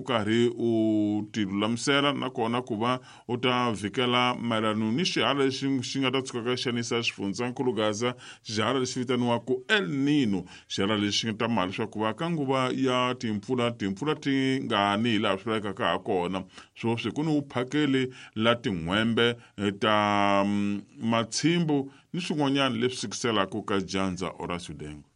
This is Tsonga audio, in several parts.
Karhi u tilulamisela nakona ku va u ta vhikela mayelano ni xihala lexi xi nga ta tshukaka xanisa xifundzankulu Gaza, xihala lexi vitaniwaka El Nino, xihala lexi nga ta mali leswaku va ka nguva ya timpfula timpfula ti nga ni hi laha swi lavekaka ha kona. Sweswi ku ni vuphakeli la tin'hwembe ta matshimbu ni swin'wanyana leswi sikiselaka ka dyandza. Horacio Dengo.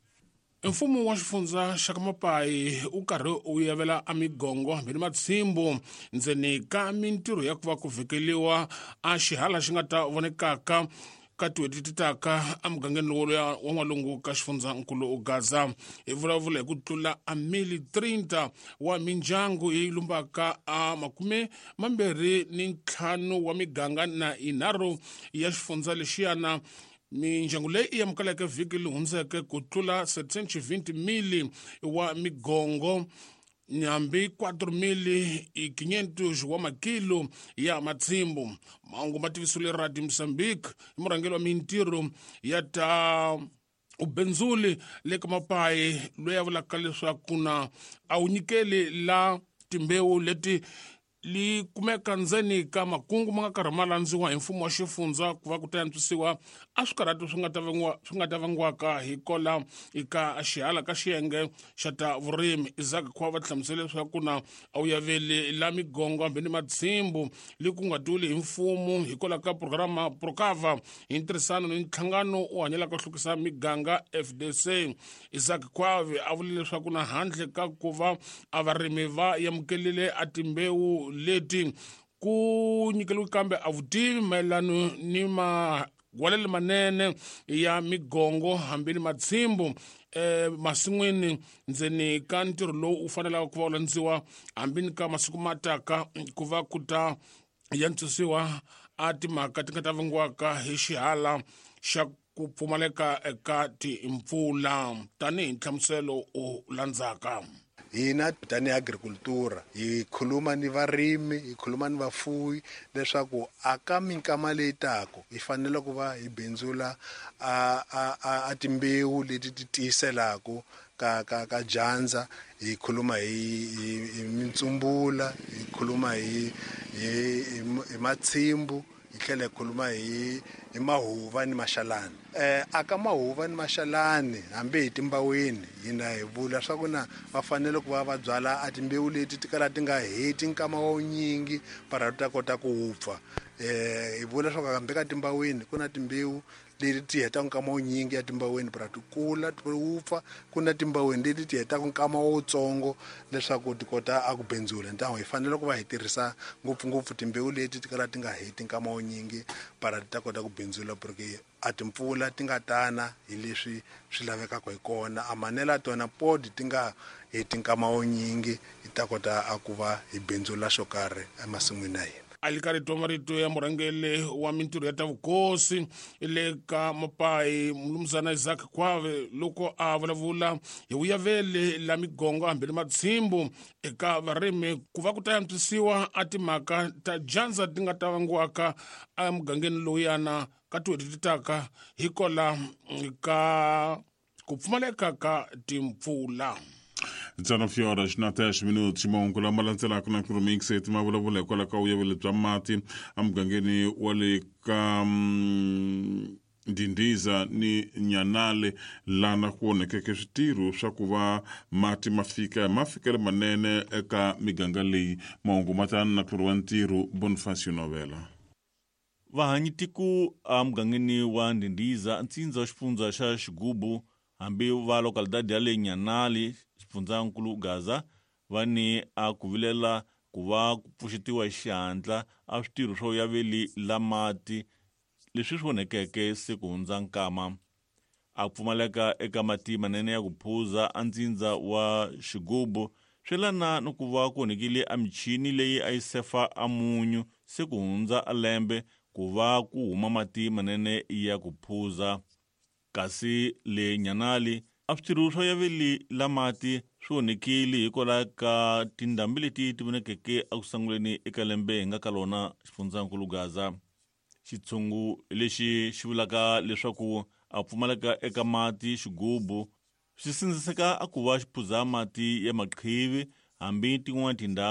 Mfumo wa xifundza xa ka Mapayi wu karhi wu yavela a migongo hambi ni matshimbu ndzeni ka mintirho ya ku va ku vhekeliwa a xihala xi nga ta vonekaka ka tin'hweti ti taka emugangeni lowu wa n'walungu ka xifundzankulu Gaza. Hi vulavula hi ku tlula a mili 30 wa mindyangu yi lumbaka a 25 wa miganga na yinharhu ya xifundza lexiyana. Mindyangu leyi i amukeleke vhiki leri hundzeke ku tlula 720 mili wa migongo hambi 4500 wa makilo ya matshimbu. Mahungu ma tivisiwile Radio Mozambique hi murhangeri wa mintirho ya ta ubenzuli le ka Mapayi, loyi a vulaka leswaku na a wu nyikeli la timbewu leti li kumeka ndzeni ka makungu ma nga karhi ma landziwa hi mfumo wa xifundza ku va ku ta antswisiwa a swikarhati swi nga ta vangiwa swi nga ta vangiwaka hi kola eka xihala ka xiyenge xa ta vurimi. Isaac Khwa va hlamusele leswaku na a wu yaveli la migongo hambi ni matshimbu li ku nga tiwile hi mfumo hikwalaho ka programa Procava hi ntirhisano ni nhlangano wu hanyelaka ku hlukisa miganga FDC. Isaac Khwavi a vule leswaku na handle ka ku va a varimi va amukelile a timbewu leti ku nyikeliwe kambe a vutivi mayelano ni magwalelo manene ya migongo hambi ni matshimbu masin'wini ndzeni ka ntirho lowu wu fanelaka ku va wu landziwa hambi ni ka masiku ma taka ku va ku ta yantswisiwa a timhaka ti nga ta vangiwaka hi xihala xa ku pfumaleka eka timpfula tanihi nhlamuselo u landzaka. Hina tanihi agricultura hi khuluma ni varimi, hi khuluma ni vafuwi leswaku a ka minkama leyi taka hi fanele ku va hi bindzula a timbewu leti ti tiyiselaku ka dyandza. Hi khuluma hi mitsumbula, hi khuluma hi matshimbu, hi tlhela hi khuluma hi mahuva ni maxalani. A ka mahuva ni maxalani hambi hi timbaweni, hina hi vula swa ku na va fanele ku va va byala a timbewu leti ti kala ti nga heti nkama wa wunyingi para ti ta kota ku wupfa. Hi vula swa ku hambi ka timbaweni ku na timbewu leti ti hetaka nkama wunyingi ya timbaweni para ti kula ti wupfa, ku na timbaweni leti ti hetaka nkama wutsongo leswaku ti kota a ku bindzula. Ntango hi fanele ku va hi tirhisa ngopfungopfu timbewu leti ti kala ti nga heti nkama wunyingi para ti ta kota ku bindzula, porque a timpfula ti nga tana hi leswi swi lavekaka hi kona, a manela tona podi ti nga heti nkama wunyingi, hi ta kota a ku va hi bindzula xo karhi emasin'wini ya hina. A li karhi twa marito ya murhangeri wa mintirho ya ta vukosi le ka Mapayi, mulumuzana Isaac Khwave, loko a vulavula hi vuyaveli la migongo hambi ni matshimbu eka varimi ku va ku ta antswisiwa a timhaka ta dyandza ti nga ta vangiwaka emugangeni lowuyana ka tin'hweti ti taka hikola ka ku pfumaleka ka timpfula. 19 horas na 10 minutos. Mahungu lama landzelaka na Remix ma vulavula hikwalaho ka vuyaveli bya mati emugangeni wa le ka Ndindiza ni Nyanale, lana ku onhekeke switirho swa ku va mati ma fika hi mafikelo manene eka miganga leyi. Mahungu ma tana na tluri wa ntirho Bonifacio Novela. Vahanyitiko emugangeni wa Ndindiza, ntsindza wa xifundza xa Xigubu, hambi va localidade ya le Nyanali, xifundzankulu Gaza, va ni a ku vilela ku va ku pfuxetiwa hi xihatla a switirho swo yaveli la mati leswi swi onhekeke se ku hundza nkama. A pfumaleka eka mati manene ya ku phuza a ntsindza wa Xigubu swi lana ni ku va ku onhekile a michini leyi a yi sefa a munyu se ku hundza a lembe ku va ku huma mati manene ya ku phuza. Kasi le Nyanali a switirho swa yaveli la mati swi onhekile hikwalaho ka tindhambi leti ti vonekeke eku sunguleni eka lembe hi nga ka lona xifundzankulu Gaza. Xitshungu lexi xi vulaka leswaku a pfumaleka eka mati xigubu swi sindziseka a ku va xi phuza mati ya maqhivi hambi tin'wana tindhawu.